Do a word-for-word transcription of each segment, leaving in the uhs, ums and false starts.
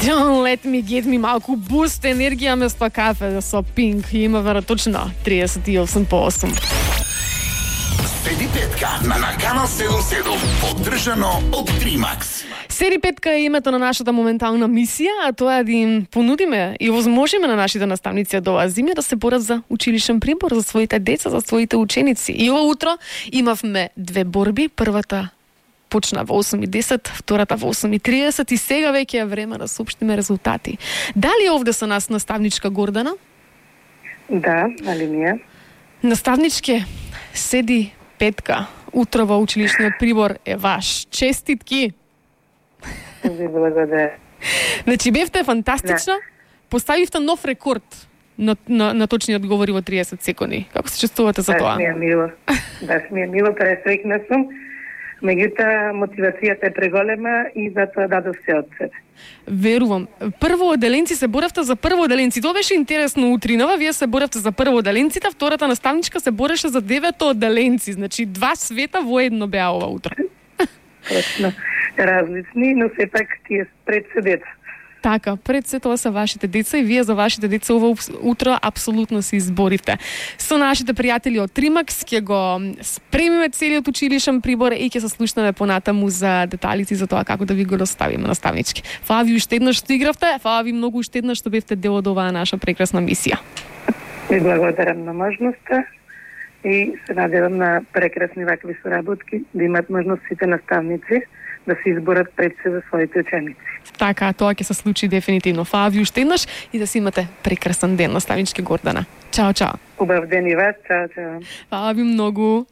Don't let me get me, малку буст енергија место кафе со Пинк. Има вера точно триесет и осум по осум. Седи петка на Наканал седум седум, поддржано од Тримакс. Седи петка е името на нашата моментална мисија, а тоа е да им понудиме и возможиме на нашите наставници од оваа зима да се борат за училишен прибор за своите деца, за своите ученици. И ова утро имавме две борби. Првата почна во осум и десет, втората во осум и триесет и сега веќе е време да соопштиме резултати. Дали овде со нас наставничка Гордана? Да, али ние. Наставничке, седи петка. Утро во училишниот прибор е ваш. Честитки! Ви благодаря. Значи, бевте фантастична. Поставивте нов рекорд на, на, на точни одговори во триесет секунди. Како се чувствувате за тоа? Баш ми е мило. Баш ми е мило, пресрекна сум. Меѓутоа, мотивацијата е преголема и затоа дадов се од себе. Верувам. Прво оделенци се боравте за прво оделенци. Тоа беше интересно утринава. Вие се боравте за прво оделенците, втората наставничка се бореше за девето оделенци. Значи, два света во едно беа ова утро. Точно. Различни, но сепак тие пред се деца. Така, пред се тоа се вашите деца и вие за вашите деца ова утро апсолутно се изборивте. Со нашите пријатели од Тримакс ќе го спремиме целиот училишен прибор и ќе се слушнеме понатаму за деталите за тоа како да ви го доставиме наставнички. Фала ви уште еднаш што игравте, фала ви многу уште еднаш што бевте дел од оваа наша прекрасна мисија. Ви благодарам на можноста и се надевам на прекрасни вакви соработки, да имат можност сите наставници да се изборат пред се за своите ученици. Така, тоа ќе се случи дефинитивно. Фала ви уште еднаш и да си имате прекрасен ден, наставнички Гордана. Чао, чао. Убав ден и вас, чао, чао. Фала ви многу.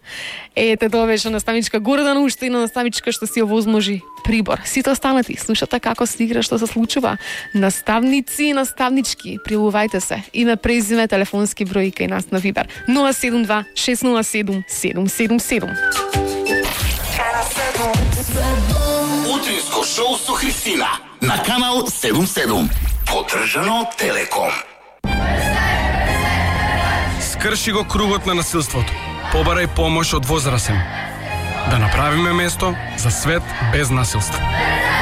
Ете, тоа беше наставничка Гордана, уште една наставничка што си овозможи прибор. Сите останати, слушате како се игра, што се случува. Наставници и наставнички, пријавувајте се. Име, презиме, телефонски број кај нас на Вибер. нула седум два шест нула седум седум седум седум. Утринско шоу со Христина на Канал седум седум. Поддржано од Телеком. Скрши го кругот на насилството. Побарај помош од возрасен. Да направиме место за свет без насилство.